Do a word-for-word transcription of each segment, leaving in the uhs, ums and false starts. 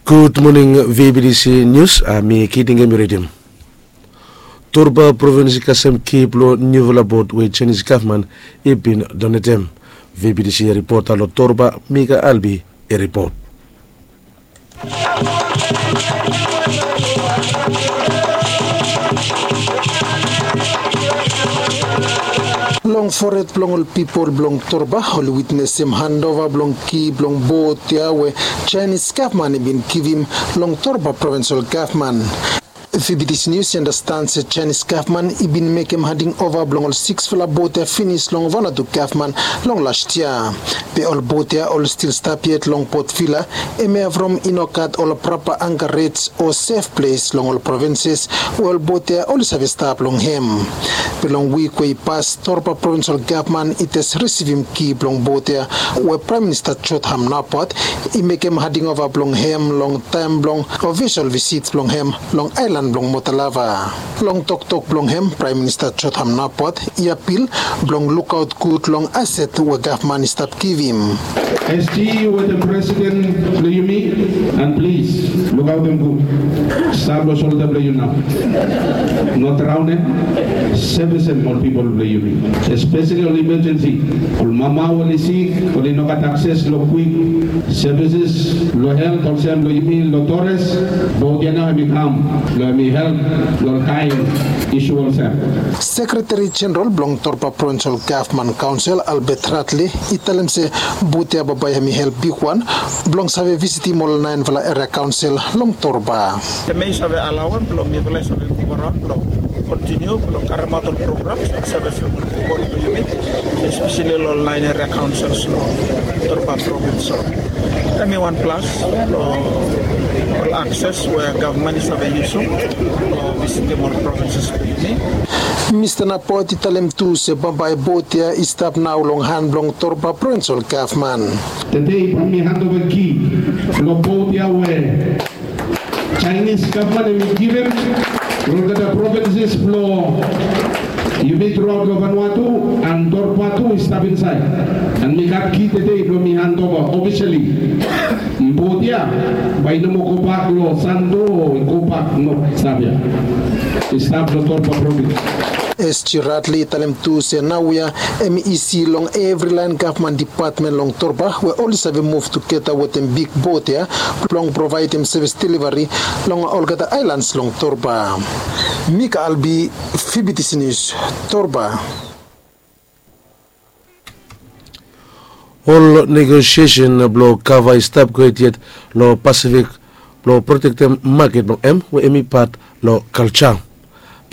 Gud moning, V B T C Nius, a mi Kiting Emi Redim. Torba provins i kasem ki blong niufala bot we Chinese gavman i bin donetem. V B T C ripota long Torba, Mika Albi, i ripot. Long fored blong ol pipol blong Torba oli witnesem handova blong ki blong bot ya we Chinese gavman i bin givim long Torba provinsol gavman. V B T C Nius i andastan se Chinese gavman i bin mekem handing ova blong ol siksfala bot ya finis long Vanuatu gavman long las yia. Be ol bot ya oli stil stap yet long Port Vila, hemia from i no gat ol prapa ankarej o sef ples long ol provinses we ol bot ya oli save stap long hem. Be long wik we i pas, Torba provinsol gavman i jes risivim ki blong bot ya we Praem Minista Jotham Napat i mekem handing ova blong hem long taem blong ofisol visit blong hem long aelan blong Motalava. Long toktok blong hem, Praem Minista Jotham Napat i apil blong lukaot gud long aset we gavman i stap givim. SG wetem presiden blong yumi, and plis lukaotem gud. Stap long solda blong yu nao. No draonem. Sevesem ol pipol blong yumi, espeseli ol imajensi. Ol mama we oli sik, oli no gat akses long kwik sevises long helt, olsem long yumi long Torres. Bot ya nao hemi kam blong hemi help long ol kaen isu olsem. Sekreteri Jeneral blong Torba Provinsol Gavman Kaonsel, Albert Ratli, i talem se bot ya bambae hemi help bigwan blong save visitim ol naenfala eria kaonsel long Torba. Hemia i save alaoem blong mifala i save muv araon blong kontiniu blong karemaot ol programs blong save sevem ol pipol blong yumi, espeseli long ol naen eria kaonsels long Torba provins. So hemi wan plas long ol akses we gavman i save yusum long visitim ol provinses blong yumi. Mista Napat i talem tu se bambae bot ya i stap nao long han blong Torba Provinsol Gavman. Tede bae mi handova ki long bot ya we Chinese gavman hemi givim long olgeta provinses blong yumi truaot long Vanuatu, and Torba tu i stap insaed. And mi gat ki tede blong mi handova ofisali. Bot ya bae i no moa gobak long Santo o i gobak, no, stap ya. I stap long Torba provins. SG Ratli i talem tu se naoia hemi isi long evri laen gavman dipatmen long Torba we oli save muv tugeta wetem big bot ya blong provaedem sevis delivari long olgeta aelans long Torba. Mika Albi, V B T C Nius, Torba. Ol negosiesen blong kava i stap gohed yet long Pasifik blong protektem maket blong hem we hemi pat long kalja.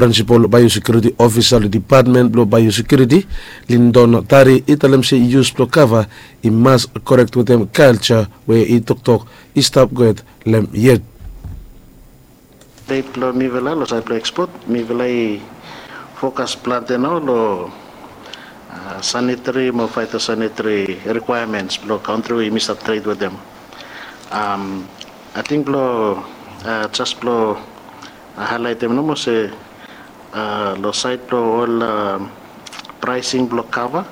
Prinsipol Baeosekiuriti Ofisa long Dipatmen blong Baeosekiuriti, Lindon Tari, i talem se yus blong kava i mas korek wetem kalja we i toktok i stap gohed long hem yet. Update blong mifala long saed blong ekspot, mifala i fokas plante nao long, a, sanitari mo faetosanitari rikwaemens blong kantri we yumi stap tred wetem. Am, ating blong, a, jes blong, a, haelaetem nomo se, a, long saed blong ol, a, praesing blong kava,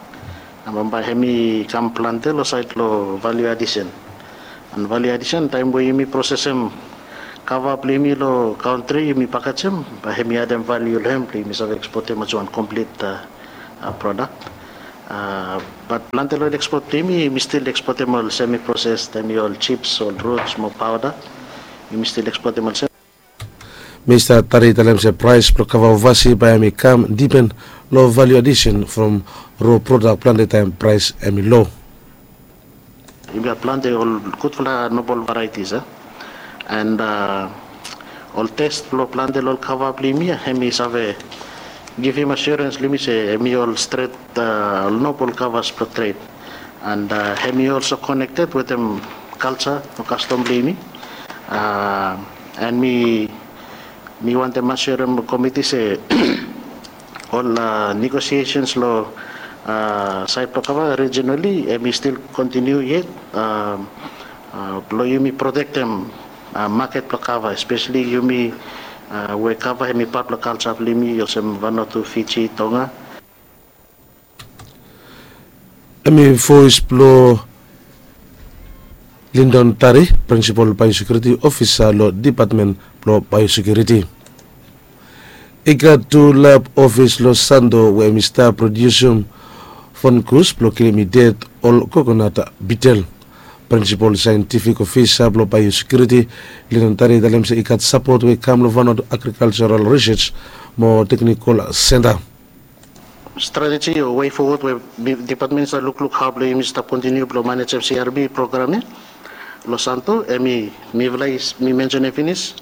a, bambae hemi kam plante long saed blong valiu adisen. And valiu adisen, taem we yumi prosesem kava blong yumi long kantri, yumi pakajem, bae hemi adem valiu long hem blong yumi save ekspotem olsem wan komplit, a, a, prodak. A, bat plante long ol ekspot blong yumi, yumi stil ekspotem ol semi proses, hemi ol jips, ol ruts mo paoda. Yumi stil ekspotem olsem. Mista Tari i talem se praes blong kava ovasi bae hemi kam dipen long valiu adisen from ro prodak plante taem praes hemi lo. Yumi gat plante ol gudfala nobol varieties, a. And, a, ol tes blong plante long ol kava blong yumi ya, hemi save givim asurens long yumi se hemi ol stret, a, ol nobol kavas blong tred. And, a, hemi olso konekted wetem kalja o kastom blong yumi. A, and mi, mi wantem asurem komiti se ol, a, negosiesens long, a, saed blong kava rijinali, hemi stil kontiniu yet, a, a, blong yumi protektem, a, maket blong kava, espeseli yumi, a, we kava hemi pat blong kalja blong yumi olsem Vanuatu, Fiji, Tonga. Hemi voes blong Lindon Tari, Prinsipol Baeosekiuriti Ofisa long Depatmen blong Baeosekiuriti. I gat tu lab ofis long Santo we hem i stap prodiusim fungus blong kilim i ded ol kokonat bitel. Prinsipol Saentifik Ofisa blong Baeosekiuriti, Lindon Tari, i talem se i gat sapot we i kam long Vanuatu Agrikalsaral Risej mo Teknikol Senta. Strateji o wei fowod we depatmen i stap lukluk hao blong yumi stap kontiniu blong manejem C R B program ya long Santo, hemi mifala i, mi mensenem finis,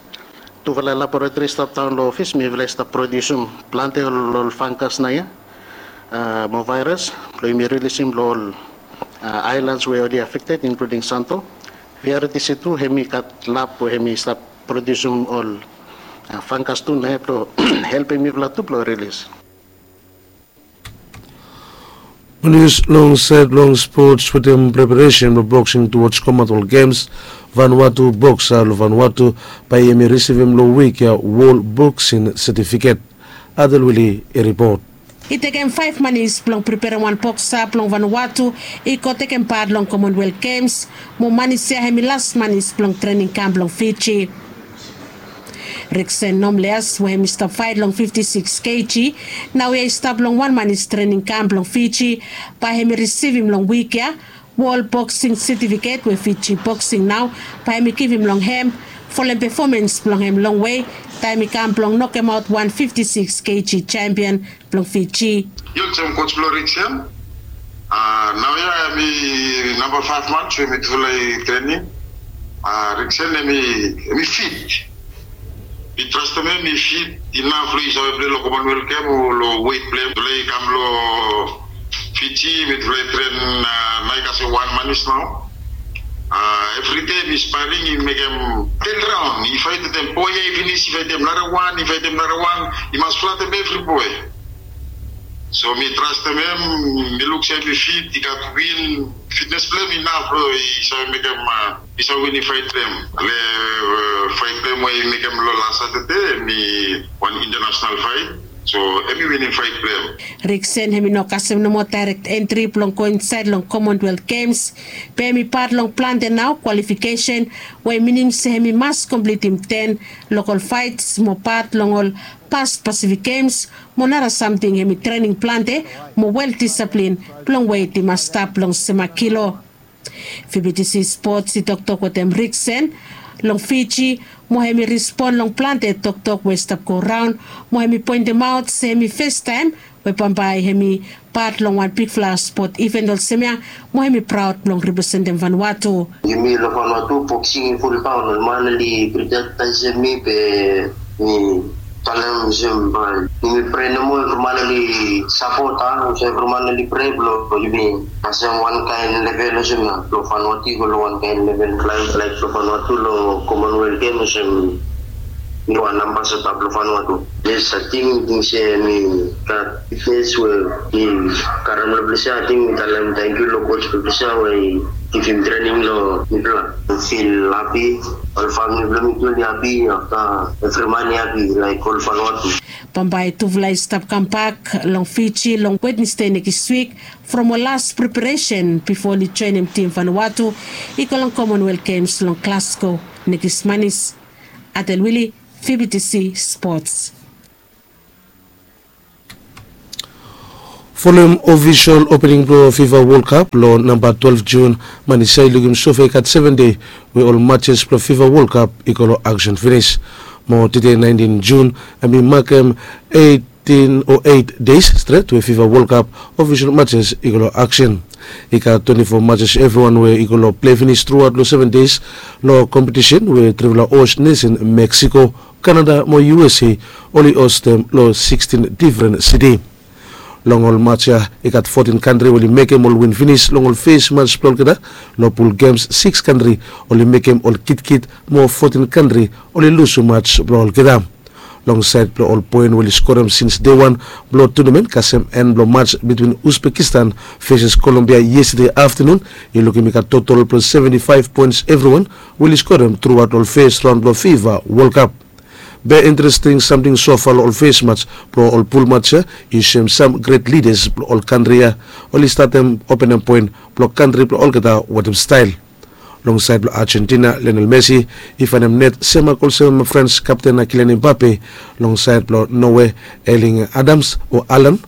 tufala laboratori i stap daon long ofis, mifala i stap prodiusim plante ol, ol fangas naoia mo vaeras blong yumi rilisim long ol aelans we oli afekted, inkluding Santo. Variety C two hemi gat lab we hemi stap prodiusim ol fangas tu naoia blong helpem mifala tu blong rilis. Nius long saed blong spots wetem preparesen blong boksing tuwoj Commonwealth Games. Vanuatu boksa long Vanuatu bae hemi risivim long wik ya wol boksing setifiket. Adelwili i ripot. I tekem faef manis blong preperem wan boksa blong Vanuatu i go tekem pat long Commonwealth Games, mo manis ya hemi las manis blong trening kam blong Fiji. Riksen Nomleas we hemi stap faet long fifti sikis keji, naoia i stap long wan manis trening kam blong Fiji, bae hemi risivim long wik ya wol boksing setifiket we Fiji Boksing nao bae hemi givim long hem folem pefomans blong hem longwe taem i kam blong nokemaot wan fifti sikis keji sempion blong Fiji. Yu olsem koj blong Riksen. Naoia hemi namba faef mans we mitufala i trening. Riksen hemi, hemi fit. Mi trastem hem i fit inaf long i save pilai long Commonwealth Game o long wet blong hem. Mitufala i kam long Fiji, mitufala i tren naoia i kasem wan manis nao. Evri dei mi sparing, i mekem ten raon, i faetem boe ya i finis, i faetem nara wan, i faetem nara wan, i mas flatem evri boe. So mi trastem hem, mi luk se hem i fit, i gat win, fitnes blong hem inaf blong i save mekem, i save winim faet blong hem. Le faet blong hem we i mekem long las Satade, hemi wan intanasenal faet. So hem i winim faet blong hem. Riksen hemi no kasem nomo daerek entri blong go insaed long Commonwealth Games, be hemi pat long plante nao kwalifikesen, we i minim se hemi mas komplitim ten lokol faets mo pat long ol past Pacific Games, mo nara samting hemi trening plante mo wel disaplin blong wet i mas stap long sem kilo. Fibitisi Spots i toktok wetem Riksen long Fiji, mo hemi respon long plante toktok we i stap go raon, mo hemi poentemaot se hemi fastaem we bambae hemi pat long wan bigfala spot iven olsem ya, mo hemi praod blong representem Vanuatu. Yumi long Vanuatu boksing i fuldaon, ol man oli prioritaisim mi be mi talem olsem bae yumi prea nomo, evri man oli sapot, a olsem evri man oli prea blong yumi kasem wankaen level olsem ya blong Vanuatu i go long wankaen level, laik, laik blong Vanuatu long Commonwealth Game olsem mi wan ambasada blong Vanuatu. Yes, ating mi ting se mi gat fitnes we mi karem long ples ya, ating mi talem tangkiu long koj blong ples ya we i givim trening long mifala. Mi fil hapi, ol famili blong mi tu oli hapi, afta evri man i hapi, laik ol Vanuatu. Bambae tufala i stap kambak long Fiji long Wednesde nekis wik from ol las preparesen bifo oli joenem tim Vanuatu i go long Commonwealth Games long Glasgow nekis manis. Adelwili, Fibitisi Spots. Folem ofisol opening blong FIFA World Cup long namba twelve Jun, manis ya i lukim sofa i gat seven dei we ol matches blong FIFA World Cup i go long aksen finis. Mo tede naentin Jun, hem i makem eitin o eit deis stret we FIFA World Cup ofisol matches i go long aksen. I gat twenti fo matches evriwan we i go long plei finis truaot long seven deis long kompetisen we trifala host nesen Mexico, Canada mo U S A oli hostem long sikstin difren siti. Long ol mats ya i gat fotin kantri we oli mekem ol win finis long ol fes mats blong olgeta. Long pul gems sikis kantri oli mekem ol kitkit mo fotin kantri oli lusum mats blong olgeta. Long saed blong ol poen we oli skorem sins dei wan blong tunamen, kasem en blong mats bitwin Uzbekistan veses Kolombia yestade aftanun, i lukim i gat totol blong seventi faef poens evriwan we oli skorem truaot long fes raon blong FIFA World Cup. Be interesting samting sofa long ol fes mats blong ol pul mats ya i soem sam gret lidas blong ol kantri ya oli statem openem poen blong kantri blong olgeta wetem stael. Long saed blong Argentina, Lionel Messi i faenem net semak olsem Frans kapten Kylian Mbappe. Long saed blong Norway, Erling Adams o Alan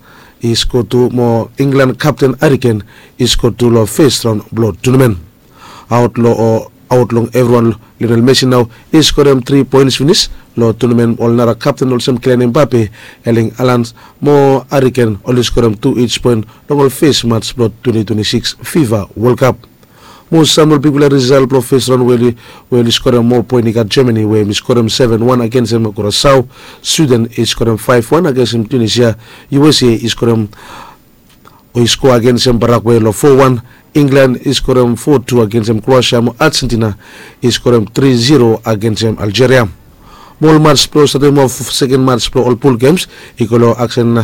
i sko tu mo Inglan kapten Hariken i sko tu long fes raon blong tunamen. Aot long evriwan, Lionel Messi nao i skorem tri poens finis. Long tunamen ol nara kapten olsem Kylian Mbappe, Erling Alan mo Hariken oli skorem tu ij poen long ol fes mats blong twenty twenty-six FIFA World Cup. Mo sam long bigfala risal blong fes raon we oli skorem moa poen i gat Germany we hem i skorem seven one agensem Kurasao. Sweden i skorem five one agensem Tunisia. U S A i skorem o i skoa agensem Paraguay long four one. Inglan i skorem four two agensem Kroasia mo Argentina i skorem three zero agensem Aljeria. Mo ol mats blong statem of seken mats blong ol pul gems i go long aksen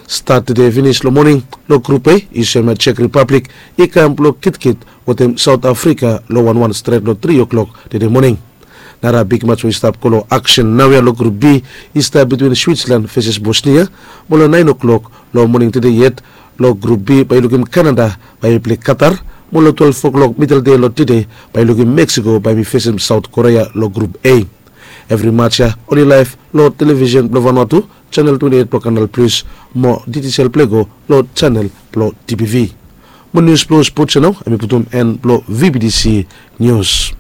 stat tede finis long moning. Long grup A i sem Czech Republic i kam blong kitkit wetem South Africa long wan wan stret long tri o'klok tede moning. Nara big mats we i stap go long aksen naoia long grup B i stap bitwin Switzerland veses Bosnia. Mo long naen o'klok long moning tede yet long grup B bae i lukim Canada bae i plei Qatar. Mo long twelve o'klok midel dei long tede bae i lukim Mexico bae hem i fesem South Korea long grup A. Evri mats ya oli laef long televisen blong Vanuatu, chanel twenty eight blong Kanal Plus, mo ditisel plei go long chanel blong TPV. Mo nius blong spots ya nao hem i putum en blong VBTC Nius.